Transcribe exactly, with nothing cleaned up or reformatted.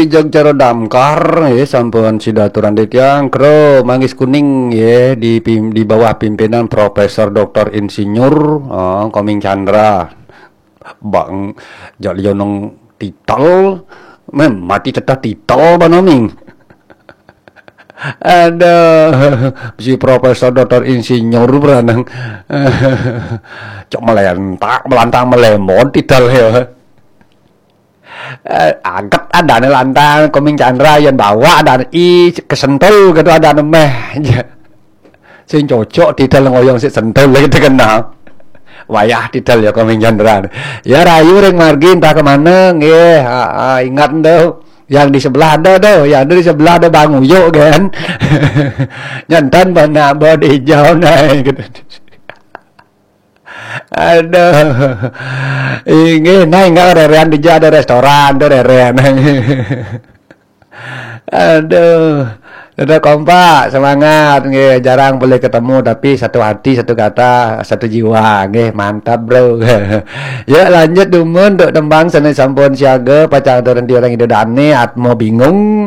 Jog cara damkar, ya, sampun sida aturang titiang, kro Manggis Kuning, ya, di pim-, di bawah pimpinan Profesor Doktor Insinyur, oh, Koming Chandra. Bang, jak liya nang titel, meh mati teteh titel banoming. Aduh, si Profesor Doktor Insinyur beranang. Cok melentak, melantang melemot titel ya. Eh, aget adane lantang, Koming Chandra yen bawa adane i kesentul gitu adane meh. Sing cocok titel ngoyong sik sentul gitu kena. Wayah titel ya Koming Chandra. Ya rayu ring margi entah kemana, nggih. Ha, ha, ingat tuh. Yang di sebelah ada tuh, yang ada di sebelah ada Bang Uyuk kan. Nyantan banyak bod hijau naik gitu. Aduh. Inggih, nah, enggak rerean dija ada restoran tuh rerean. Aduh. Tetap kompak, semangat, nggih. Jarang boleh ketemu, tapi satu hati, satu kata, satu jiwa, nggih. Mantap, bro. Ya, lanjut dumun untuk tembang seni sampun siaga, pacang turun di orang itu dane, atmo bingung.